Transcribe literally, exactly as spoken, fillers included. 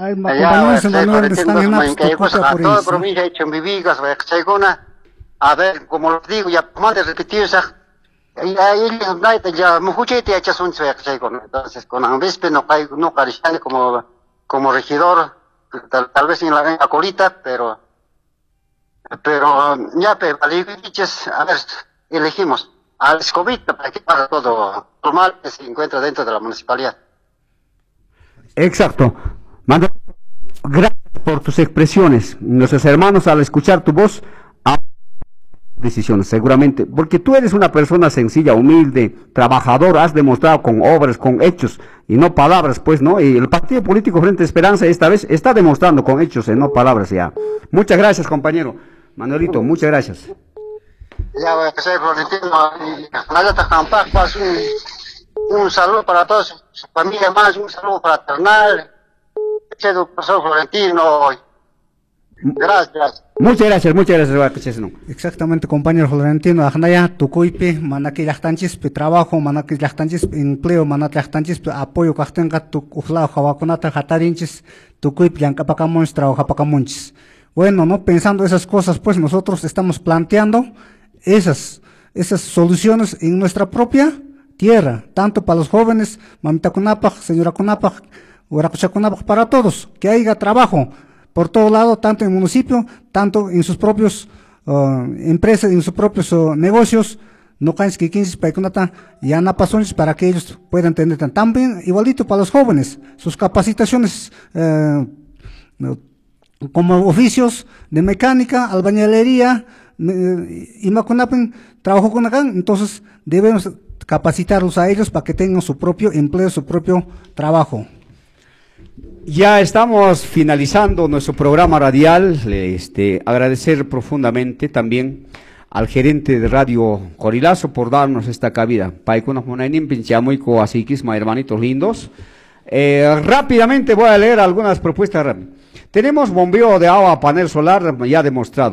Ay, toda provincia de Chumbivilcas, a ver, como les digo, ya más de repetir, ya entonces con no no como como regidor, tal, tal vez en la, en la colita, pero pero ya, pero a ver, elegimos al escobita para que para todo normal que se encuentra dentro de la municipalidad. Exacto. Mando, gracias por tus expresiones. Nuestros hermanos, al escuchar tu voz, decisiones, seguramente, porque tú eres una persona sencilla, humilde, trabajador, has demostrado con obras, con hechos y no palabras, pues, ¿no? Y el partido político Frente Esperanza esta vez está demostrando con hechos y no palabras ya. Muchas gracias, compañero Manuelito, muchas gracias. Ya, un, un saludo para todos, su familia más, un saludo fraternal, profesor Florentino. Gracias. Muchas gracias, muchas gracias. Exactamente, compañero Florentino. Ajnaya, tukuypi, manaki llaqtanchispi trabajo, manaki llaqtanchispi empleo, manaki llaqtanchispi apoyo kaqtinqa uqlaw hawakunata hatarinchis, tukuypi llank'apakamunchis, trabajapakamunchis. Bueno, no pensando esas cosas, pues nosotros estamos planteando esas, esas soluciones en nuestra propia tierra, tanto para los jóvenes, mamitakunapaq, señorakunapaq, wiraquchakunapaq, para todos, que haya trabajo por todo lado, tanto en el municipio, tanto en sus propios uh, empresas, en sus propios uh, negocios, no para que ellos puedan tener también igualito para los jóvenes, sus capacitaciones eh, como oficios de mecánica, albañilería, y makunapin trabajo con acá, entonces debemos capacitarlos a ellos para que tengan su propio empleo, su propio trabajo. Ya estamos finalizando nuestro programa radial. Este, agradecer profundamente también al gerente de Radio Corilazo por darnos esta cabida. Paykunaq munayninpin chamuyku asikisma, hermanitos lindos. Eh, rápidamente voy a leer algunas propuestas. Tenemos bombeo de agua a panel solar ya demostrado.